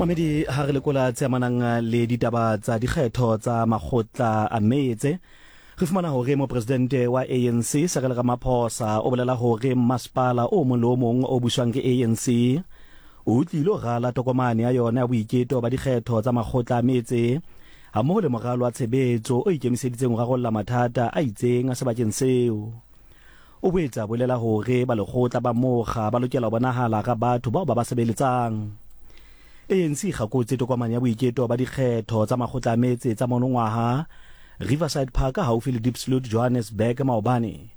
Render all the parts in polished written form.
Mamedi ha re lekola tse amanang le ditaba tsa dikgetho tsa makgotla a metse, re fumana hore mopresidente wa ANC Cyril Ramaphosa o bolela hore mmasepala o mong le o mong o buswang ke ANC o tlilo rala tokomane ya yona ya boiketo ba dikgetho tsa makgotla a metse hammoho le moralo wa tshebetso o ikemiseditseng ho rarolla mathata a itseng a sebakeng seo. O boetse a bolela hore ba lekgotla ba mokga ba lokela ho bonahala hara batho bao ba ba sebeletsang. ANC e kgakotse tokomane ya boiketo ba dikgetho tsa makgotla a metse tsa monongwaha Riverside Park haufi le Diepsloot, Johannesburg maobane,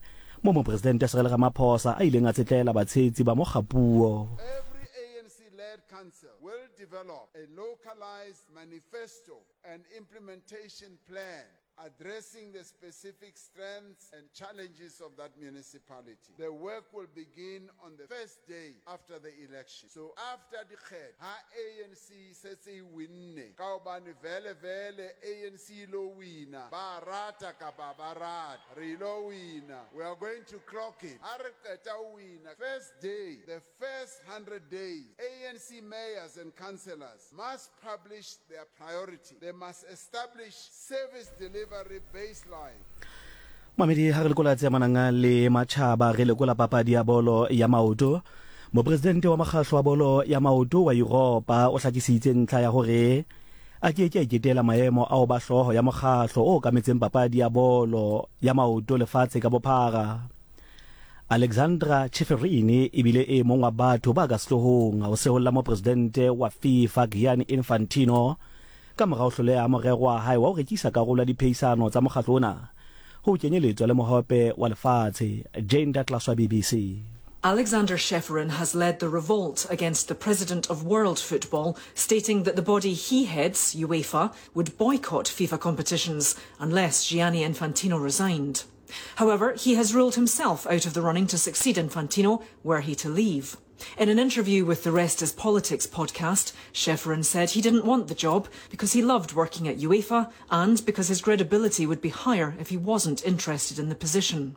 moo Mopresidente Cyril Ramaphosa a ileng a tsetlela batshehetsi ba mokga puo. Every ANC-led council will develop a localized manifesto and implementation plan addressing the specific strengths and challenges of that municipality. The work will begin on the first day after the election. So after dikgetho, ha ANC e setse e winne, ka hobane vele vele ANC e ilo wina, ba rata kapa ba rate, re ilo wina. We are going to clock it. Ha re qeta ho wina, first day, the first 100 days, ANC mayors and councillors must publish their priority. They must establish service delivery baseline. Mamedi ha re lekola tse amanang le matjhaba, re lekola papadi ya bolo ya maoto. Mopresidente wa mokgahlo wa bolo ya maoto wa Yuropa o hlakisitse ntlha ya hore a ke ke a iketela maemo a ho ba hlooho ya mokgahlo o okametseng papadi ya bolo ya maoto lefatshe ka bophara. Alexandra Ceferin e bile e mong wa batho ba ka sehloohong ho seholla mopresidente wa FIFA Gianni Infantino ka mora ho hloleha ha morero wa hae wa ho rekisa karolo ya diphehisano tsa mokgatlo ona ho kenyeletswa le Mohope wa Lefatshe. Jane Douglas wa BBC. Alexander Ceferin has led the revolt against the president of world football, stating that the body he heads, UEFA, would boycott FIFA competitions unless Gianni Infantino resigned. However, he has ruled himself out of the running to succeed Infantino were he to leave. In an interview with the Rest is Politics podcast, Ceferin said he didn't want the job because he loved working at UEFA and because his credibility would be higher if he wasn't interested in the position.